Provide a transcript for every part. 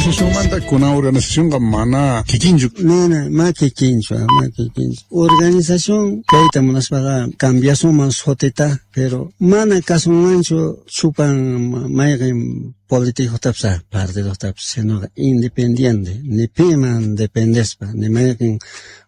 Organización kuna organización mana kikinchu. Mana, ma kikinchu, ma kikinchu. Organización kayta munaspaqa cambiasunman sutita, pero mana kasunmanchu chupan mayqin político-tapis partido-tapis, sino independiente, ni piman dependespa, ni mayqin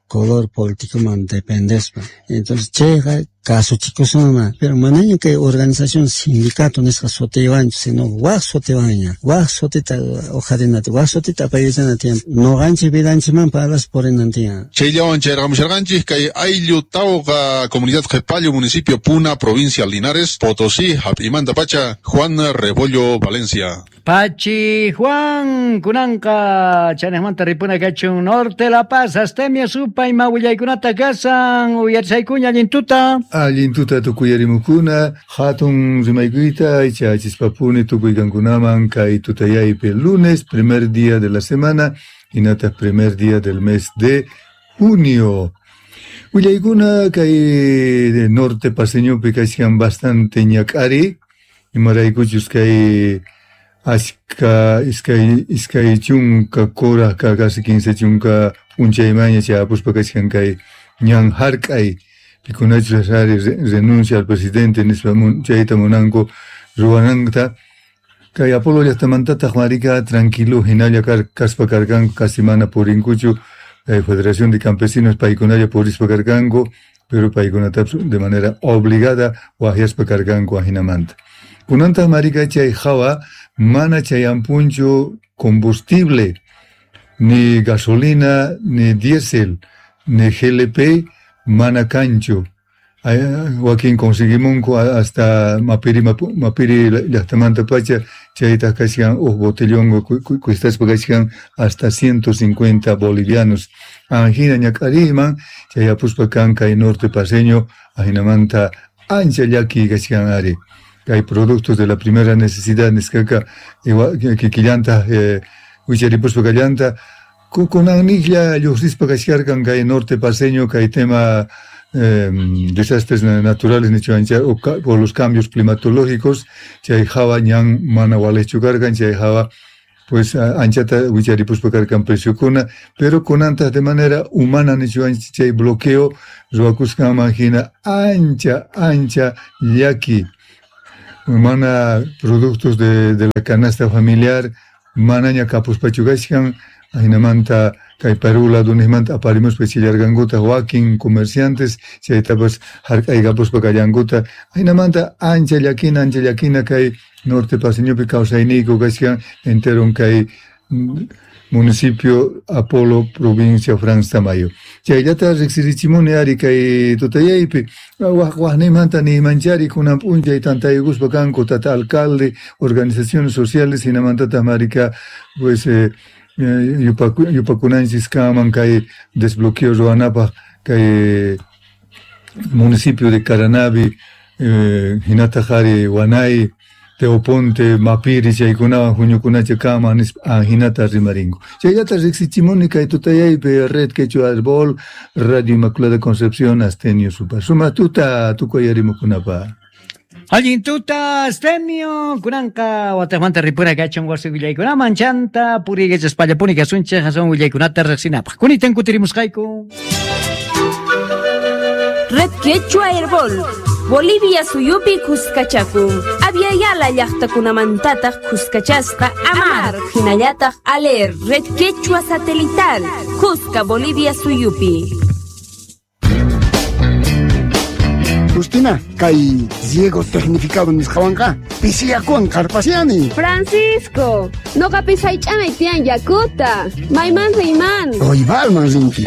color político-man dependespa. Entonces chayqa kasuchikusunman, pero manaña kay organización sindicato nisqa sutiwanchu, sino wak sutiwanña, wak sutita uqharinata, wak sutita apaykachana tiyan, nuqanchik vidanchikman parlaspa purinan tiyan. Chayllawan chayrqamusharqanchik kay ayllu Tauqa, comunidad Qepallo, municipio Puna, provincia Linares, Potosí, hap'imanta pacha, Juan Rebollo, Valencia. Pachi Juan, kunanqa chanejmanta ripuna kachun Norte La Paz, Astemio Supay, ima willaykunata kasan, uyarisaykuña allin tuta. Allin tuta tukuyarimukuna, hatun rimaykuyta, ichachispapuni tukuykankunaman kay tutayaypi lunes, primer día de la semana, hinataq primer día del mes de junio. Willaykuna kay norte paseñopi kachkan bastante ñak'ari, imaraykuchus kay achka iskay chunka kuraq casi 15 chunka p'unchaymaña chayapuspa kachkan kay ñan hark'ay, pikunachus ari renuncia al presidente nispa chayta munanku ruwananta. Kay Apolo llaqtamantataq marika tranquilo hinalla kaspa karkanku, casi mana purinkuchu, Federación de Campesinos paykunalla purispa karkanku, pero paykunatapas de manera obligada waqyaspa karkanku ajinamanta. Kunantaq marika chay hawa mana chayampunchu combustible, ni gasolina, ni diésel, ni GLP, mana kanchu. Wakin conseguimunku hasta Mapiri llaqtamanta pacha, chaytaq kachkan huk botellón cuestaspa kachkan hasta 150 bolivianos. Ajina ñak'ariyman chayapuspa kan kay norte paseño, ajinamanta ancha llaki kachkan ari. Kay productos de la primera necesidad nisqaqa kikillanta wicharipuspa kallanta kunanniqlla lluqsispa kachkarqan kay norte paseño kay tema desastres naturales nichuancha o los cambios climatológicos, chay hawa ñan mana walichu karqan, chay hawa pues anchata wicharipuspa karqan preciokuna, pero kunantaq de manera humana nichuancha chay bloqueo ruwakusqanman hina ancha ancha llaki. Mana productos de la canasta familiar manaña kapuspachu kachkan, ajinamanta kay Perú ladunijmanta aparimuspa chillarqankuta wakin comerciantes, chaytapas hark'aykapuspa kallankuta, ajinamanta ancha llakina kay norte paseñopi kawsayniyku kachkan enteron kay municipio Apolo, provincia Franz Tamayo. Chayllata riqsirichimuni ari kay tutayaypi, waqnimanta niymanchari kunan p'unchay tantaykuspa kanku tata alcalde, organizaciones sociales, hinamantataq marika pues yupakunanchis kaman kay desbloqueo ruwanapaq kay municipio de Caranavi, hinataq ari Wanay, Teoponte, Mapiri, chaykunawan huñukunacha kaman nispa hinata rimarinku. Chayllata riqsichimuni kay tutayaypi Red Quechua Arbol, Radio Inmaculada Concepción, Astenio Supa. Suma tuta tukuyarimukunapa. Allin tuta, Astemio, kunanqa wataqmanta ripuna kachun wasi willaykunaman chanta puriykachaspa kasunchik hasan willaykunata riqsinapaq. Kunitan kutirimusqayku. Red Quechua Herbol, Bolivia suyupi kuskachakun. Aviala llaqtakunamantataq kuskachasqa Amar, hinallataq Aler, Red Quechua Satelital, Cusca, Bolivia suyupi. Justina, kay Diego tecnificado nisqawanqa pisiyakuwan qarpasiani. Francisco, noqapis haych'anay tiyan yakuta. Mayman riyman. Proibalman rinki.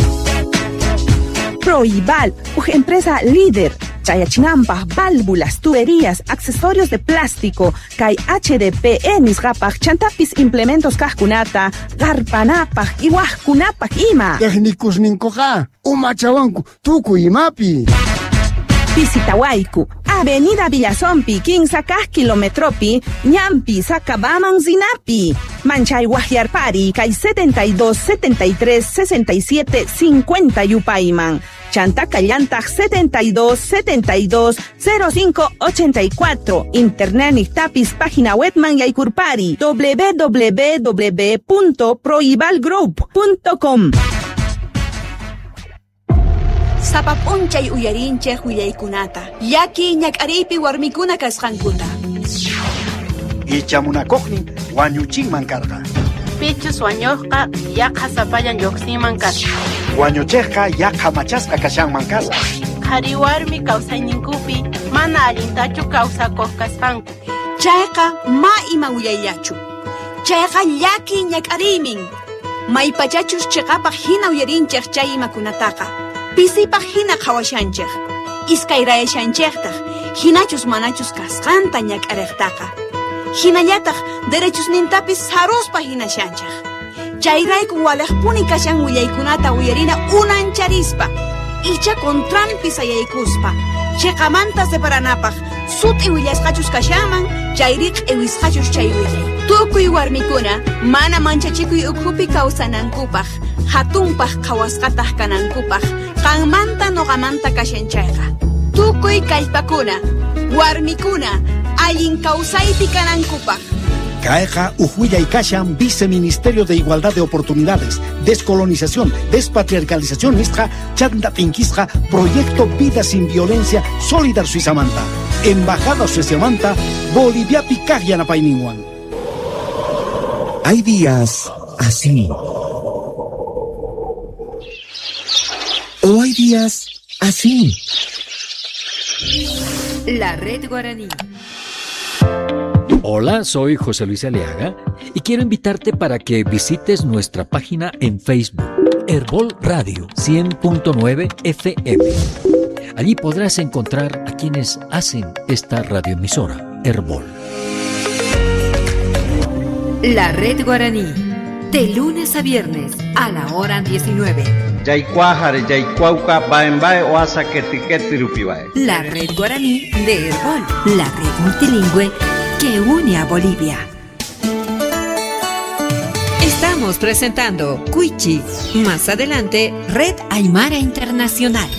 Proibal, uj empresa líder. Chayachinampaj, válvulas, tuberías, accesorios de plástico, kay HDPE nisqapaj, chantapis implementos kaqkunata, qarpanapaj, iwaqkunapaj ima. Técnicos ninkuqa, umachawanku tukuy imapi. Visitawayku, Avenida Villazompi, 15 kilometropi, Ñampi, Sacabaman, Zinapi, Manchay Guajiarpari, kay 72 73 67 50 Yupayman. Chanta kallantaq 72 72 05 84. Internet niqtapis página webman yaykurpari www.proibalgroup.com. Sapap'unchay uyarinchik willaykunata, llaki ñak'ariypi warmikuna kasqankuta. Ichamunakuqnin wañuchinman karqa. Pichus wañuqqa yaqa sapallan lluqsinman kasqa. Wañuchiqqa yaqa machasqa kashanman kasqa. Qhari warmi kawsayninkupi mana allintachu kawsakuq kasqanku. Chayqa ma ima willayllachu. Chayqa llaki ñak'ariymin. Maypachachus chiqapaq hina uyarinchik chay imakunataqa. Pisipaq hina qhawashanchik. Iskayrayashanchiktaq hinachus manachus kasqanta ñak'ariqtaqa. Hinallataq derechusnintapis saruspa hinashanchik. Chayrayku waliqpuni kashan willaykunata uyarina unancharispa. Icha contranpi sayaykuspa. Chiqamanta separanapaq sut'i willasqachus kashanman chayri q'iwisqachus chay willay. Tukuy warmikuna mana manchachikuy ukhupi kawsanankupaq, hatunpaq qhawasqataq kanankupaq, qanmanta nuqamanta kashan chayqa. Tukuy kallpakuna, warmikuna, allin kawsaypi kanankupaq. Kayqa uj kashan Viceministerio de Igualdad de Oportunidades, Descolonización, Despatriarcalización nisqa, chanta tinkisqa, Proyecto Vida Sin Violencia, Solidar Suizamanta, Embajada Suizamanta, Boliviapi kaq yanapayninwan. Hay días así. O hay días así. La Red Guaraní. Hola, soy José Luis Aliaga y quiero invitarte para que visites nuestra página en Facebook, Herbol Radio 100.9 FM. Allí podrás encontrar a quienes hacen esta radioemisora, Herbol. La Red Guaraní, de lunes a viernes a la hora 19. La Red Guaraní de Herbol, la red multilingüe que une a Bolivia. Estamos presentando Cuichi. Más adelante, Red Aymara Internacional.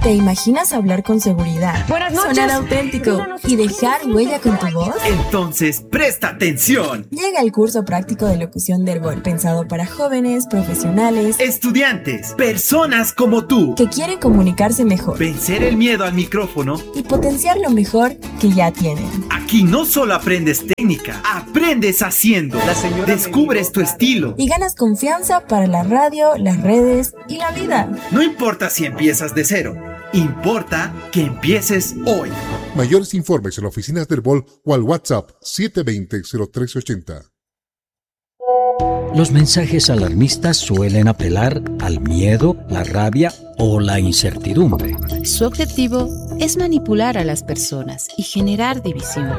¿Te imaginas hablar con seguridad? Buenas noches. Sonar auténtico y dejar huella con tu voz? Entonces, presta atención. Llega el curso práctico de locución de Herbol, pensado para jóvenes, profesionales, estudiantes, personas como tú que quieren comunicarse mejor, vencer el miedo al micrófono y potenciar lo mejor que ya tienen. Aquí no solo aprendes técnica, aprendes haciendo. Descubres tu estilo y ganas confianza para la radio, las redes y la vida. No importa si empiezas de cero. Importa que empieces hoy. Mayores informes en oficinas del Herbol o al WhatsApp 720-0380. Los mensajes alarmistas suelen apelar al miedo, la rabia o la incertidumbre. Su objetivo es manipular a las personas y generar división.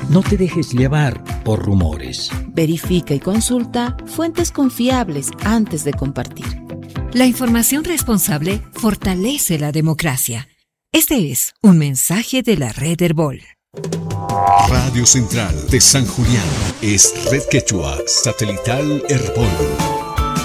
No te dejes llevar por rumores. Verifica y consulta fuentes confiables antes de compartir. La información responsable fortalece la democracia. Este es un mensaje de la Red Herbol. Radio Central de San Julián es Red Quechua Satelital Herbol.